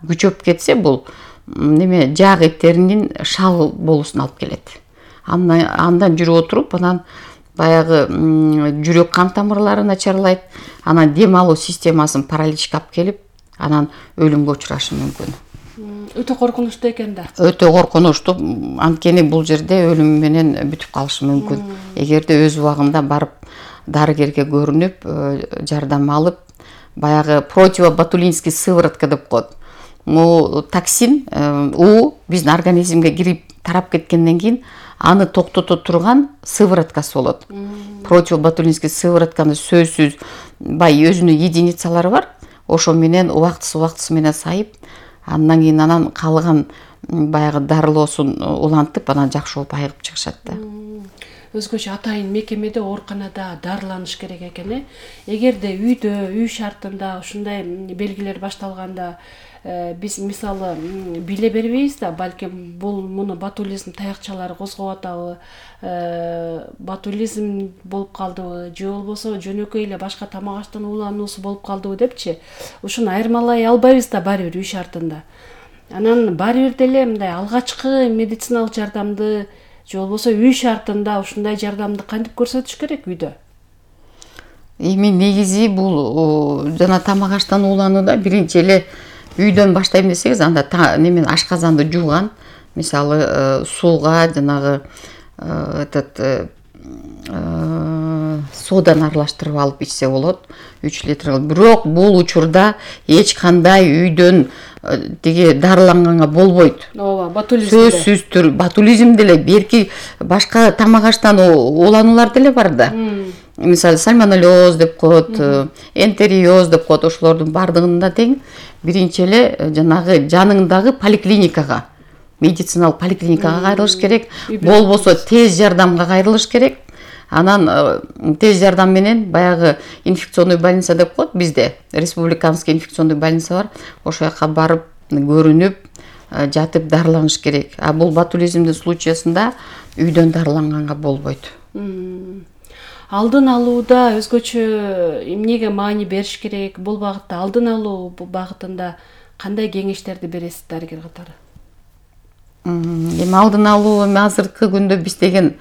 күчөп кетсе бул неме жак эттеринин шал болуусуна алып келет. Андан жүрүп отуруп анан баягы жүрөк кан тамырлары начарлайт, анан дем алуу системасын параличке алып келип, анан өлүмгө учурашы мүмкүн. Өтө коркунучтуу экен да. Өтө коркунучтуу, анткени бул жерде өлүм менен бүтүп калышы мүмкүн. Эгерде өз убагында барып дарыгерге көрүнүп, жардам алып, баягы противоботулинский сыворотка деп коет. Бул токсин, биздин организмге кирип тарап кеткенден кийин аны токтото турган сывороткасы болот. Противоботулинский сыворотканы сөзсүз баягы өзүнүн единицалары бар. Ошо менен убактысы менен сайып, андан кийин анан калган баягы дарылоосун улантып, анан жакшы болуп айыгып чыгышат да. Өзгөчө атайын мекемеде, ооруканада дарыланыш керек экен. Эгерде үйдө, үй шартында ушундай белгилер башталганда, биз мисалы биле бербейбиз да, балким муну ботулизм таякчалары козгоп атабы, ботулизм болуп калдыбы, же болбосо жөнөкөй эле башка тамак аштын уулануусу болуп калдыбы депчи. Ушуну айырмалай албайбыз да баары бир үй шартында. Анан баары бир деле мындай алгачкы медициналык жардамды, же болбосо үй шартында ушундай жардамды кантип көрсөтүш керек үйдө? Эми негизи бул жана тамак аштан ууланууда биринчи эле үйдөн баштайм десеңиз, анда немен ашказанды жууган, мисалы сууга жанагы содан аралаштырып алып ичсе болот, 3 литр. Бирок бул учурда эч кандай үйдөн тиги дарыланганга болбойт. Ооба, ботулизм. Сөзсүз түрдө ботулизм деле, берки башка тамак аштан уулануулар деле бар да. Мисалы сальмонеллез деп коет, энтериоз деп коет, ошолордун бардыгында тең биринчи эле жанагы жаныңдагы поликлиникага, медициналык поликлиникага кайрылыш керек, болбосо тез жардамга кайрылыш керек. Анан тез жардам менен баягы инфекционный больница деп коет бизде, республиканский инфекционный больница бар. Ошол жака барып көрүнүп, жатып дарыланыш керек. А бул ботулизмдин случаysында үйдөн дарыланганга болбойт. Алдын алууда өзгөчө эмнеге маани бериш керек? Бул багытта алдын алуу багытында кандай кеңештерди бересиз дарыгер катары? Эми алдын алуу азыркы күндө биз деген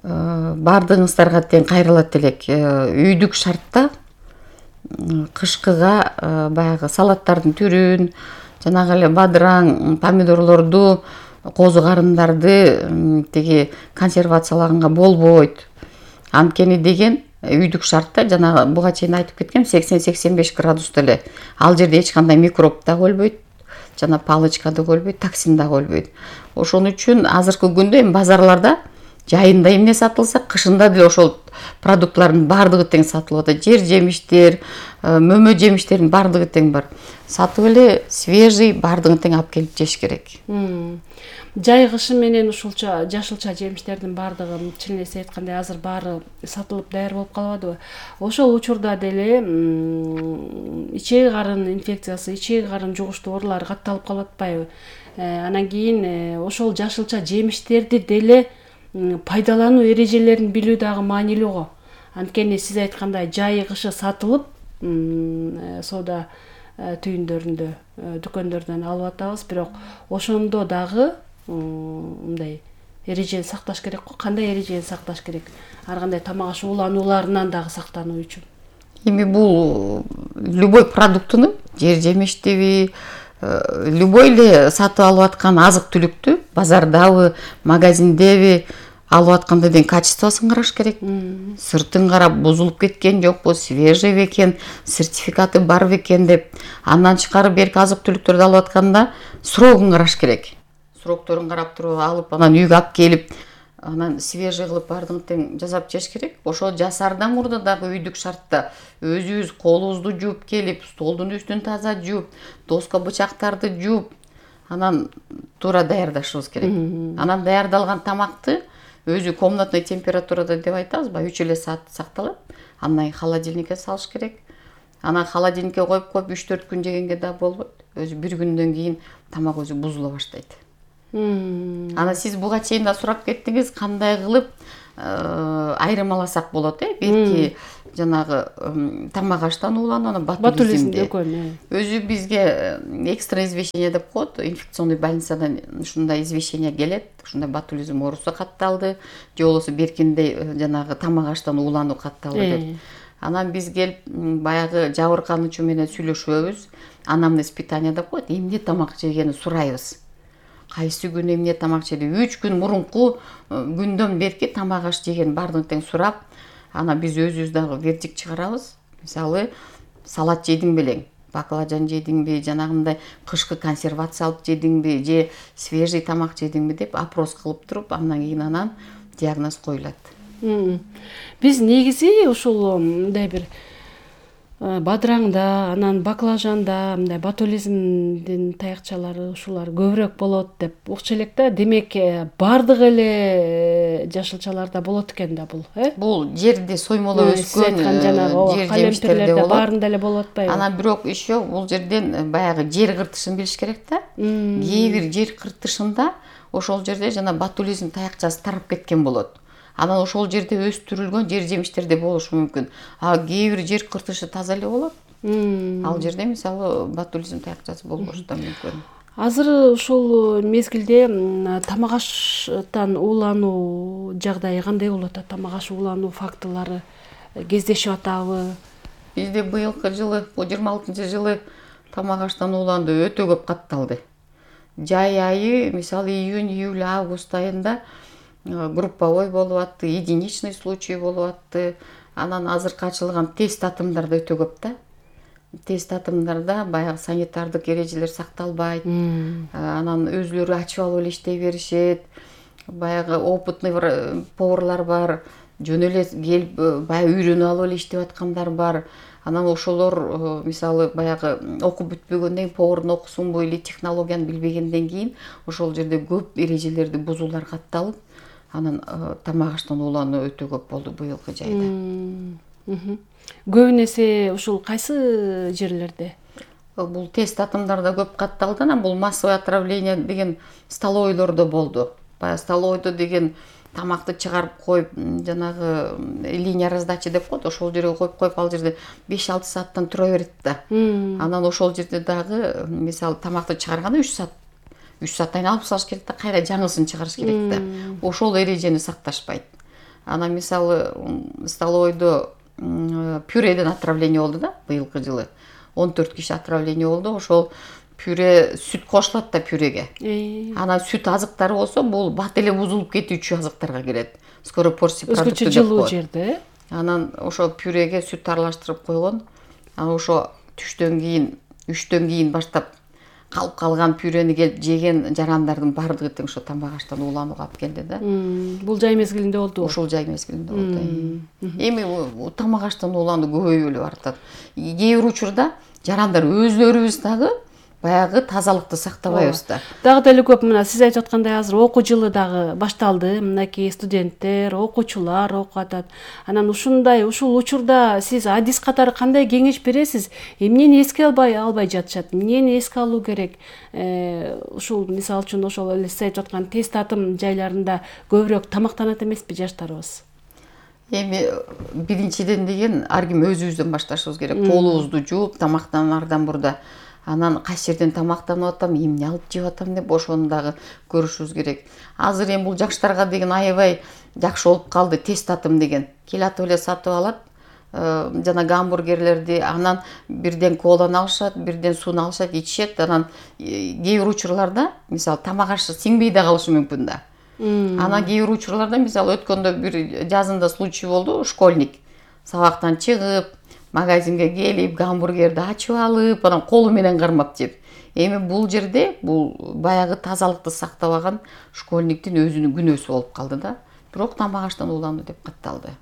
бардыгыңыздарга тең кайрылат элек. Үйдүк шартта кышкыга баягы салаттардын түрүн, жанагы эле бадыраң, помидорлорду, козу карындарды тиги консервациялаганга болбойт. Анткени деген үйдүк шартта жана буга чейин айтып кеткем, 80-85 градуста эле. Ал жерде эч кандай микроб да өлбөйт, жана палычка да өлбөйт, токсин да өлбөйт. Ошон үчүн азыркы күндө эми базарларда жайында эмне сатылса, кышында деле ошол продуктлардын бардыгы тең сатылып атат. Жер жемиштер, мөмө жемиштердин бардыгы тең бар. Сатып эле свежий бардыгын тең алып келип жеш керек. Жай кышы менен ушулча жашылча жемиштердин бардыгы чын эле айткандай азыр баары сатылып даяр болуп калбадыбы? Ошол учурда деле ичеги карын инфекциясы, ичеги карын жугуштуу оорулары катталып калып атпайбы? Анан кийин ошол жашылча жемиштерди деле пайдалануу эрежелерин билүү дагы маанилүү го. Анткени сиз айткандай жай кышы сатылып, соода түйүндөрүндө, дүкөндөрдөн алып атабыз, бирок ошондо дагы мындай эрежени сакташ керек го. Кандай эрежени сакташ керек? Ар кандай тамак аш ууланууларынан дагы сактануу үчүн. Эми бул любой продуктуну, жер жемиштиби, любой эле сатып алып аткан азык-түлүктү базардабы, магазиндеби алып атканда дең качествосын караш керек. Сыртын карап, бузулуп кеткен жокпу, свежий бекен, сертификаты бар бекен деп, андан чыкарып берки азык-түлүктөрдү алып атканда срогун караш керек. Срокторун карап туруп алып, анан үйгө алып келип, анан свежий кылып бардыгын тең жасап жеш керек. Ошол жасаардан мурда дагы үйдүк шартта өзүбүз колубузду жууп келип, столдун үстүн таза жууп, доска бычактарды жууп, анан туура даярдашыбыз керек. Анан даярдалган тамакты өзү комнатный температурада деп айтабызбы, 3 эле саат сакталат. Андан холодильникке салыш керек. Анан холодильникке коюп 3-4 күн жегенге да болбойт. Өзү 1 күндөн кийин тамак өзү бузула баштайт. Анан сиз буга чейин да сурап кеттиңиз, кандай кылып айырмаласак болот, белки жанагы тамак аштан уулануу, анан ботулизмди. Өзү бизге экстра извещение деп коет, инфекционный больницадан ушундай извещение келет, ушундай ботулизм оорусу катталды, же болбосо беркиндей жанагы тамак аштан уулануу катталды деп. Анан биз келип баягы жабыркануучу менен сүйлөшөбүз, анамнез питание деп коет, эмне тамак жегенин сурайбыз. Кайсы күн эмне тамак жеди, 3 күн мурунку күндөн берки тамак аш жеген баардыгын тең сурап, анан биз өзүбүз дагы вердикт чыгарабыз. Мисалы, салат жедиң белең, баклажан жедиңби, жанагындай кышкы консервация алып жедиңби, же свежий тамак жедиңби деп опрос кылып туруп, андан кийин диагноз коюлат. Биз негизи ушул мындай бир бадыраңда, анан баклажанда мындай ботулизмдин таякчалары ушулар көбүрөөк болот деп укчу элек да. Демек, бардык эле жашылчаларда болот экен да бул, Бул жерде соймолоп өскөн жер жемиштерде болот. Баарында эле болуп атпайбы? Анан бирок еще бул жерден баягы жер кыртышын билиш керек да. Кээ бир жер кыртышында ошол жерде жана ботулизм таякчасы тарап кеткен болот. Анан ошол жерде өстүрүлгөн жер жемиштерде болушу мүмкүн. Кээ бир жер кыртышы таза эле болот. Ал жерде мисалы ботулизм таякчасы болбошу да мүмкүн. Азыр ушул мезгилде тамак аштан уулануу жагдайы кандай болуп атат? Тамак аш уулануу фактылары кездешип атабы? Бизде быйылкы жылы, 26-жылы тамак аштан уулануу өтө көп катталды. Жай айы, мисалы июнь, июль, август айында групповой болуп атты, единичный случай болуп атты. Анан азыркы ачылган тест атымдар да өтө көп да. Тест атымдарда баягы санитардык эрежелер сакталбайт. Анан өзүлөрү ачып алып эле иштей беришет. Баягы опытный поварлар бар, жөн эле келип баягы үйрөнүп алып эле иштеп аткандар бар. Анан ошолор мисалы баягы окуп бүтпөгөндөн кийин, повардын окусунбу или технологияны билбегенден кийин ошол жерде көп эрежелерди бузуулар катталып, анан тамак аштан уулануу өтө көп болду быйылкы жайда. Көбүн эсе ушул кайсы жерлерде? Бул тест атымдарда көп катталды, анан бул массовое отравление деген столовойлордо болду. Баягы столовойдо деген тамакты чыгарып коюп, жанагы линия раздачи деп коет, ошол жерге коюп, ал жерде 5-6 сааттан тура берет да. Анан ошол жерде дагы мисалы тамакты чыгарганда 3 сааттан алып салыш керек да, кайра жаңысын чыгарыш керек да. Ошол эрежени сакташпайт. Анан мисалы столовойдо пюреден отравление болду да быйылкы жылы. 14 киши отравление болду. Ошол пюре, сүт кошулат да пюреге. Анан сүт азыктары болсо, бул бат эле бузулуп кетүүчү азыктарга кирет. Скоро порция продукты деп коет. Өзгөчө жылуу жерде. Анан ошо пюреге сүт аралаштырып койгон. Анан ошо түштөн кийин, 3төн кийин баштап калып калган пюрени келип жеген жарандардын баардыгы тең ошо тамак аштан ууланууга алып келди да. Бул жай мезгилинде болду. Ошол жай мезгилинде болду. Эми тамак аштан уулануу көбөйүп эле баратат. Кээ бир учурда жарандар өзлөрүбүз дагы баягы тазалыкты сактабайбыз да. Дагы деле көп мына сиз айтып аткандай азыр окуу жылы дагы башталды. Мынакей студенттер, окуучулар окуп атат. Анан ушул учурда сиз адис катары кандай кеңеш бересиз? Эмнени эске албай жатышат? Эмнени эске алуу керек? Ушул мисалы үчүн ошол эле сиз айтып аткан тест атым жайларында көбүрөөк тамактанат эмеспи жаштарыбыз? Эми биринчиден деген ар ким өзүбүздөн башташыбыз керек. Колубузду жууп, тамактанаардан мурда анан кайсы жерден тамактанып атам, эмне алып жеп атам деп ошону дагы көрүшүбүз керек. Азыр эми бул жаштарга деген аябай жакшы болуп калды тест атым деген. Келатып эле сатып алат, жана гамбургерлерди, анан бирден коланы алышат, бирден сууну алышат, ичишет. Анан кээ бир учурларда мисалы тамак ашы сиңбей да калышы мүмкүн да. Анан кээ бир учурларда мисалы өткөндө бир жазында случай болду, школьник сабактан чыгып, магазинге келип, гамбургерди ачып алып, анан колу менен кармап жеп. Эми бул жерде бул баягы тазалыкты сактабаган школьниктин өзүнүн күнөөсү болуп калды да. Бирок тамак аштан уулануу деп катталды.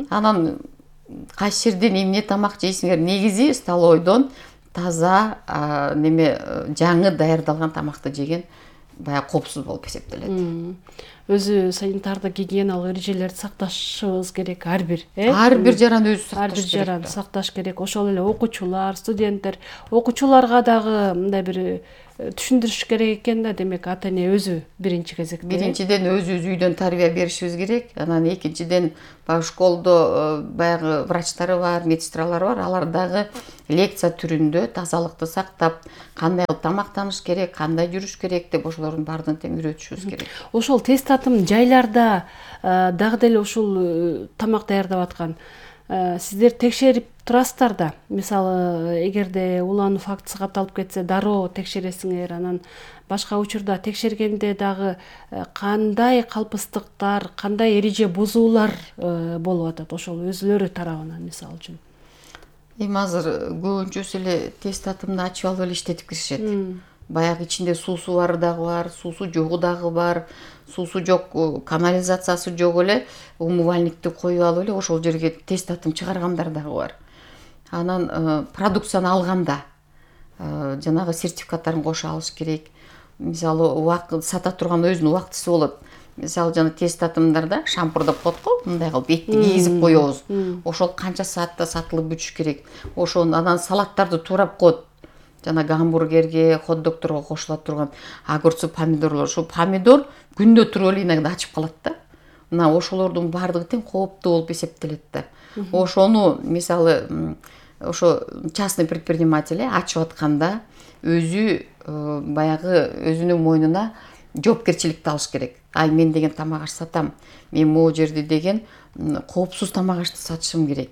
Анан кайсы жерден эмне тамак жейсиңер? Негизи столовойдон таза жаңы даярдалган тамакты жеген баягы коопсуз болуп эсептелет. Өзү санитардык гигиеналык эрежелерди сакташыбыз керек ар бир, Ар бир жаран өзү сакташ керек. Ар бир жаран сакташ керек. Ошол эле окуучулар, студенттер, окуучуларга дагы мындай бир түшүндүрүш керек экен да. Демек ата эне өзү биринчи кезекте. Биринчиден өзүбүз үйдөн тарбия беришибиз керек. Анан экинчиден баягы школдо баягы врачтары бар, медсестралары бар. Алар дагы лекция түрүндө тазалыкты сактап, кандай кылып тамактаныш керек, кандай жүрүш керек деп ошолордун баардыгын тең үйрөтүшүбүз керек. Ошол тест татым жайларда дагы деле ушул тамак даярдап аткан сиздер текшерип турасыздар да. Мисалы, эгерде улануу фактысы катталып кетсе, дароо текшересиңер. Анан башка учурда текшергенде дагы кандай калпыстыктар, кандай эреже бузуулар болуп атат ошол өзүлөрү тарабынан, мисалы үчүн? Эми азыр көбүнчөсү эле тест татымды ачып алып эле иштетип киришет. Баягы ичинде суусу бары дагы бар, суусу жогу дагы бар. Суусу жок, канализациясы жок эле умывальникти коюп алып эле ошол жерге тест татым чыгаргандар дагы бар. Анан продукцияны алганда жанагы сертификаттарын кошо алыш керек. Мисалы, убакыт сата турган өзүнүн убактысы болот. Мисалы, жана тест татымдарда шампур деп коет го, мындай кылып этти кийгизип коебуз. Ошол канча саатта сатылып бүтүш керек. Ошону анан салаттарды туурап коет. Жана гамбургерге, хот-догторго кошула турган огурцу, помидорлор. Ошол помидор күндө туруп эле иногда ачып калат да. Мына ошолордун баардыгы тең кооптуу болуп эсептелет да. Ошону мисалы ошо частный предприниматель ачып атканда өзү баягы өзүнүн мойнуна жоопкерчиликти алыш керек. Ай, мен деген тамак аш сатам. Мен могу жерде деген коопсуз тамак ашты сатышым керек.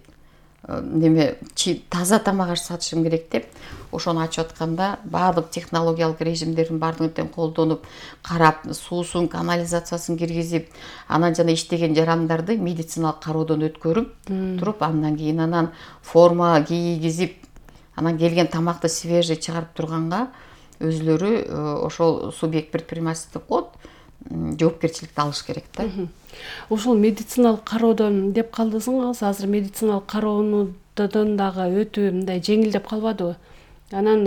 Таза тамак аш сатышым керек деп ошону ачып атканда баардык технологиялык режимдердин баардыгын тең колдонуп, карап, суусун, канализациясын киргизип, анан жана иштеген жарандарды медициналык кароодон өткөрүп туруп, андан кийин анан форма кийгизип, анан келген тамакты свежий чыгарып турганга өзүлөрү ошол субъект предпринимательства деп коет, жоопкерчиликти алыш керек да. Ушул медициналык кароодон деп калдыңыз, азыр медициналык кароодон дагы өтүү мындай жеңилдеп калбадыбы? Анан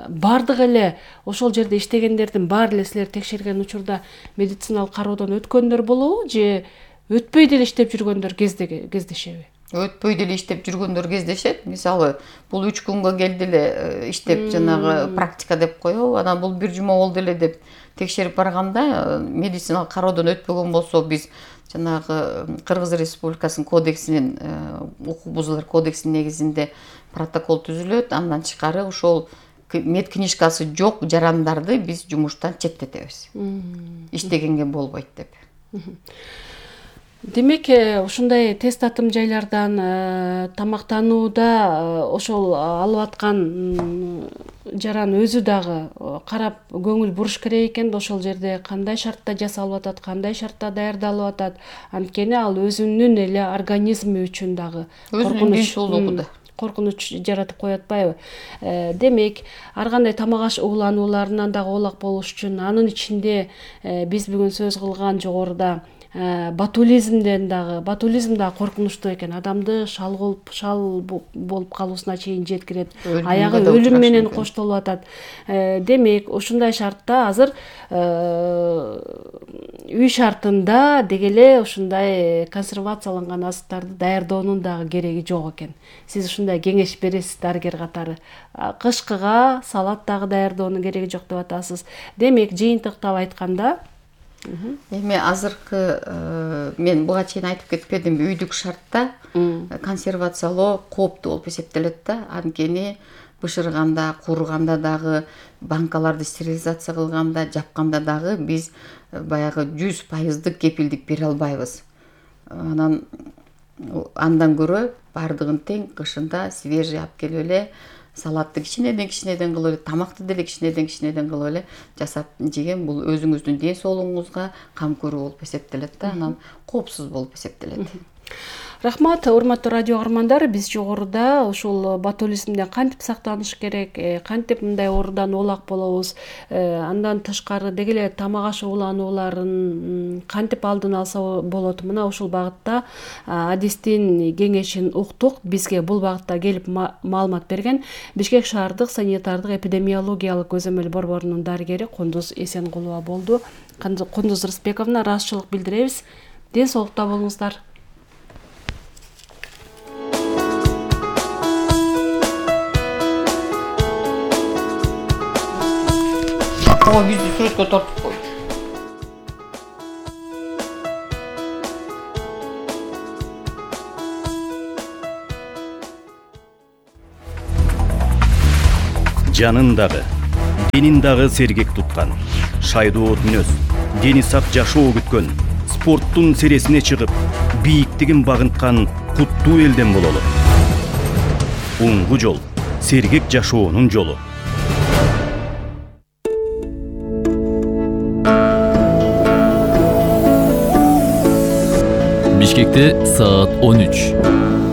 бардык эле ошол жерде иштегендердин баары эле силер текшерген учурда медициналык кароодон өткөндөр болобу же өтпөй деле иштеп жүргөндөр кездешеби? Өтпөй деле иштеп жүргөндөр кездешет. Мисалы, бул 3 күнгө келди эле иштеп, жанагы практика деп коебу. Анан бул 1 жума болду эле деп текшерип барганда медициналык кароодон өтпөгөн болсо, биз жанагы Кыргыз Республикасынын кодексинин, укук бузуулар кодексинин негизинде протокол түзүлөт. Андан тышкары ошол медкнижкасы жок жарандарды биз жумуштан четтетебиз. Иштегенге болбойт деп. Демек, ушундай тест татым жайлардан тамактанууда ошол алып аткан жаран өзү дагы карап көңүл буруш керек экен да, ошол жерде кандай шартта жасалып атат, кандай шартта даярдалып атат. Анткени ал өзүнүн эле организми үчүн дагы коркунуч жаратып коюп атпайбы? Демек, ар кандай тамак аш ууланууларынан дагы оолак болуш үчүн, анын ичинде биз бүгүн сөз кылган жогоруда ботулизм дагы коркунучтуу экен. Адамды шал болуп калуусуна чейин жеткирет. Аягы өлүм менен коштолуп атат. Демек, ушундай шартта азыр үй шартында дегеле ушундай консервацияланган азыктарды даярдоонун дагы кереги жок экен. Сиз ушундай кеңеш бересиз дарыгер катары. Кышкыга салат дагы даярдоонун кереги жок деп атасыз. Демек, жыйынтыктап айтканда, эми азыркы мен буга чейин айтып кетпедимби, үйдүк шартта консервациялоо кооптуу болуп эсептелет да. Анткени бышырганда, курганда дагы, банкаларды стерилизация кылганда, жапканда дагы биз баягы 100% кепилдик бере албайбыз. Андан көрө баардыгын тең кышында свежий алып келип эле салатты кичинеден кылып эле, тамакты деле кичинеден кылып эле жасап жеген, бул өзүңүздүн ден соолугуңузга кам көрүү болуп эсептелет да, анан коопсуз болуп эсептелет. Рахмат, урматтуу радио каармандар. Биз жогоруда ушул ботулизмден кантип сактаныш керек, кантип мындай оорудан оолак болобуз, андан тышкары дегеле тамак аш ууланууларын кантип алдын алса болот, мына ушул багытта адистин кеңешин уктук. Бизге бул багытта келип маалымат берген Бишкек шаардык санитардык эпидемиологиялык көзөмөл борборунун дарыгери Кундуз Эсенкулова болду. Кундуз Рысбековна, ыраазычылык билдиребиз. Ден соолукта болуңуздар. ого бизди сүрөткө тартып койду. Жанын дагы, денин дагы сергек туткан, шайдоо мүнөз, дени сак жашоо күткөн, спорттун сересине чыгып, бийиктигин багынткан куттуу элден бололу. Уңгу жол, сергек жашоонун жолу. Бишкекте саат 13.